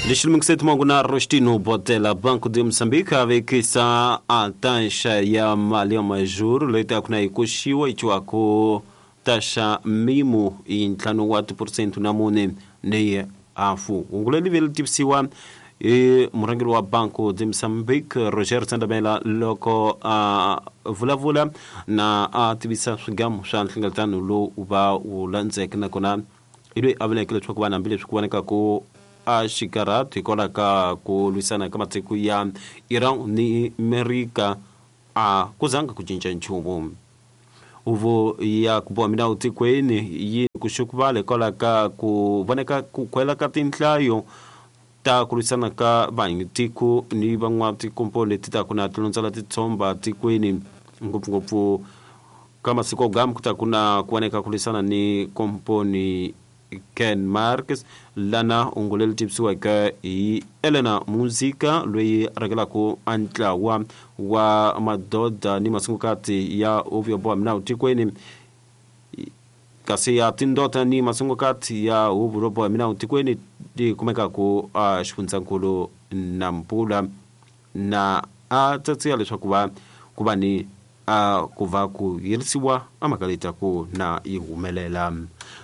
Lexi na Rostino Botela, Banco de Moçambique, avekisa a taxa ya mali ya majuro leyi taka na yi koxiwa yi ciwaku taxa mimo hi ntlhanu wa tiphurusente na mune ni hafu. Hungu leri vi ri tivisiwa hi murhangeri wa Banco de Moçambique, Roger Sandamela, loko a vulavula na a tivisa swigamu swa nhlengeletano lowu va wu landzeke, nakona hi loyi a vuleke leswaku vanhu hambileswi ku vonekaku a xikarhati hikwalaho ka ku lwisana ka matiko ya Iran ni Amerika a ku zanga ku cinca nchumu. Huvo ya ku boha minawu tikweni yi ku xukuvala hikwalaho ka ku voneka ku khwela ka tinhlayo ta ku lwisana ka vanhu tiko ni van'watikomponi leti taku na tilondzela titshomba tikweni, ngopfungopfu ka masiku gam ku ta ku na ku voneka ku lwisana ni komponi Ken Marques, lana hungu leri tivisiweke hi Elena Muzika loyi a rhangelaka a ntlawa wa madoda ni masungukati ya huvo yo boha minawu tikweni, kasi ya tindota ni masungukati ya huvo yo boha minawu tikweni ti kumekaku a xifundzankulu Nampula, na a tsatsiya leswaku va ku va ni a ku va ku yirisiwa a mhaka leyi taku na yi humelela.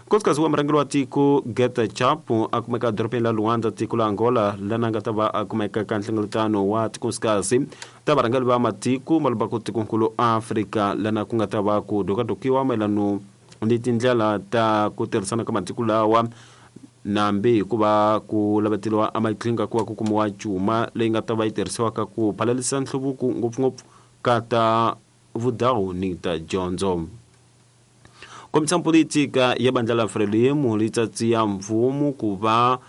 Nkosikazi wa murhangeri wa tiko Geta Chapo a kumeka edorobeni la Luanda, tiko la Angola, lana nga ta va a kumeka ka nhlengeletano wa tikosikazi ta varhangeri va matiko ma lumbaku tikonkulu Afrika, lana ku nga ta va ku dokadokiwa mayelano ni tindlela ta ku tirhisana ka matiko lawa, nambi hikuva ku laveteliwa amaqhinga ku va ku kumiwa cuma leyi nga ta va yi tirhisiwaka ku phalalisa nhluvuko ngopfungopfu ka ta vudawu ni ta dyondzo. Kombisa politika ya bandla la Frelimo li tsatsiya mfumo ku va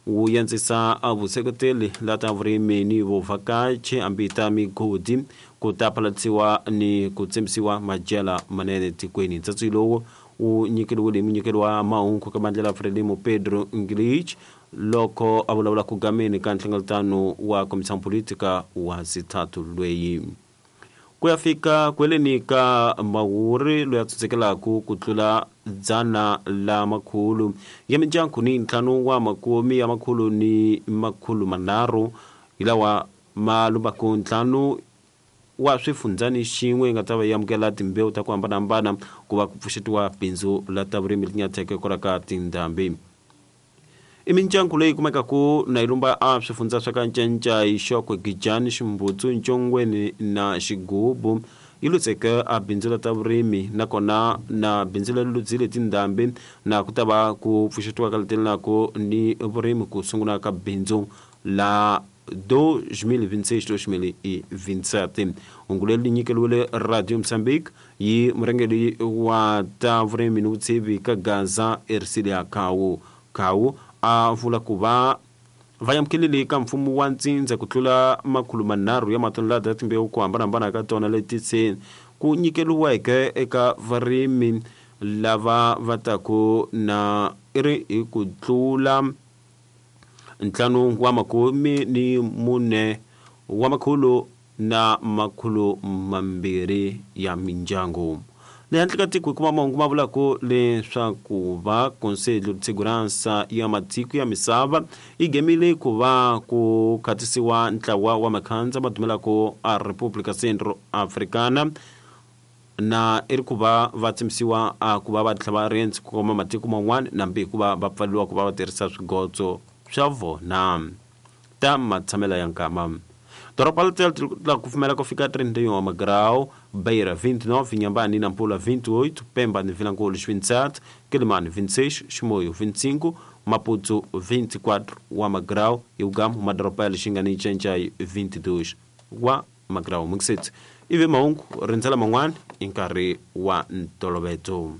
wu yandzisa a vuseketeli la ta vurimi ni vuvhakachi hambi ta migodi ku ta phalalisiwa ni ku tsembisiwa madyela manene tikweni. Ntsatsi lowu wu nyikeriwile hi munyikeri wa mahungu ka bandla la Frelimo Pedro Nglich loko a vulavula ku gameni ka nhlengeletano wa komisa politika wa sithathu lweyi. Ku ya fika kweleni ka Mhawuri loyi a tsutsekelaku ku tlula dzana la makhulu ya mindyangu ni ntlhanu wa makume ya makhulu ni makhulu manharhu hi lawa ma lumbaku ntlhanu wa swifundzani xin'we yi nga ta va yi amukela timbewu ta ku hambanahambana ku va ku pfuxetiwa bindzu la ta vurimi leri nyatheke hikwalaho ka tindhambi. I mindyangu leyi kumekaku na yi lumba a swifundza swa ka Ncencai, Xokwe, Gijani, Ximbutsu, Ncongweni na Xigubu yi lutseke a bindzu la ta vurimi, nakona na bindzu leri ludzile tindhambi na ku ta va ku pfuxetiwa ka letelelako ni vurimi ku sungula ka bindzu la 2026-2027. Hungu leri li nyikeriwile Radio Mozambique yi murhangeri wa ta vurimi ni vutshivi ka Gaza Ercilia Khawu. Khawu a vula ku va va amukelile ka mfumo wa ntsindza ku tlula 300 ya matonelada ya timbewu ku hambanahambana ka tona leti se ku nyikeriweke eka varimi lava va taku na i ri hi ku tlula ntlhanu wa makume ni mune wa makhulu na makhulu mambirhi ya mindyangu. Le handle ka tiko hi kuma mahungu ma vulaka leswaku va Conselho de Segurança ya matiko ya misava yi gemile ku va ku khatisiwa ntlawa wa makhandza ma dumelaka a República Centro Africana, na i ri ku va va tsemisiwa a ku va va tlhela va riendzi ku koma matiko man'wana nambi hikuva va pfaleriwa ku va va tirhisa swigotso swa vona ta matshamelo ya nkama. Doroba la la kufumela ku fika 31 wa magrau, Beira 29, Inhambane e Nampula 28, Pemba ni Vilankulo 27, Quelimane 26, Chimoio 25, Maputo 24 wa magrau, e Ugamo madoroba ya Lixinga ni Ncencai 22 wa magrau. Mukiseti ivi mahungu rindzela man'wana hi nkarhi wa ntoloveto.